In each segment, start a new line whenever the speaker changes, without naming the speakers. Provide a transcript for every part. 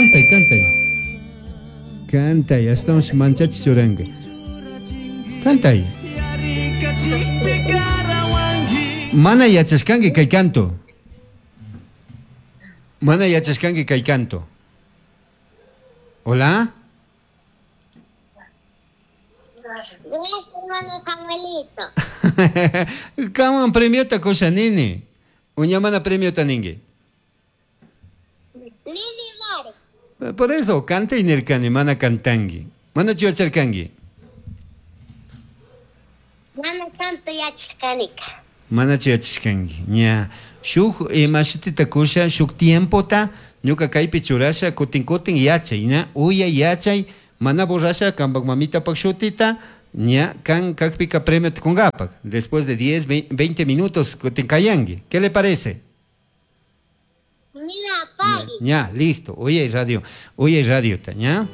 Cantay, cantay. Cantay, ashtawanshi manchachi churanka. Cantay. Mana yachashkanki kay canto. Mana yachashkanki kay canto. Hola.
Gracias, hermano Samuelito.
Kanman premiota kusha nini. Uña mana premiota ninki.
Lili Mari.
Por eso, cantay nirkani, mana cantanki. Manachu yacharkanki?
Mana tanto yachashkanika.
Manachu yachashkanki. Ña, shuk ima shutita kusha, shuk tiempota ñuka kaypi churasha, kutin kutin yachay, ña, uyay yachay, mana borrasha kampak mamitapak shutita, ña, kan kakpika premiota kunkapak. Después de 10, 20 minutos kutin kayanki. ¿Qué le parece?
Mira, pagui.
Ña, listo. Uyay radio, uyay radiota, ña.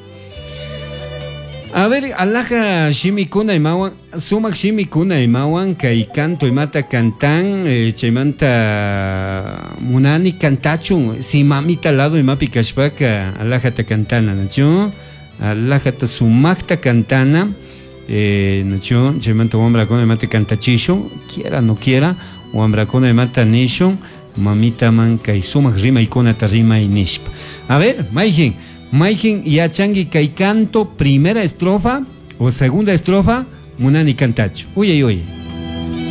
A ver, alhaja shimikuna imawan, sumak shimikuna imawan, kay canto imata cantan, chaymanta munani cantachun, si mamita lado imapi kashpaka, alhajata cantana, nachu? Alhajata sumakta cantana, nachu? Chaymanta wambrakuna imata cantachishun, quiera no quiera, wambrakuna imata nishun, mamitaman kay sumak rimaykunata rimay nishpa. A ver, mayjin, mayjin yachangi kay canto, primera estrofa o segunda estrofa, munani cantachu. Uy, uy, uy.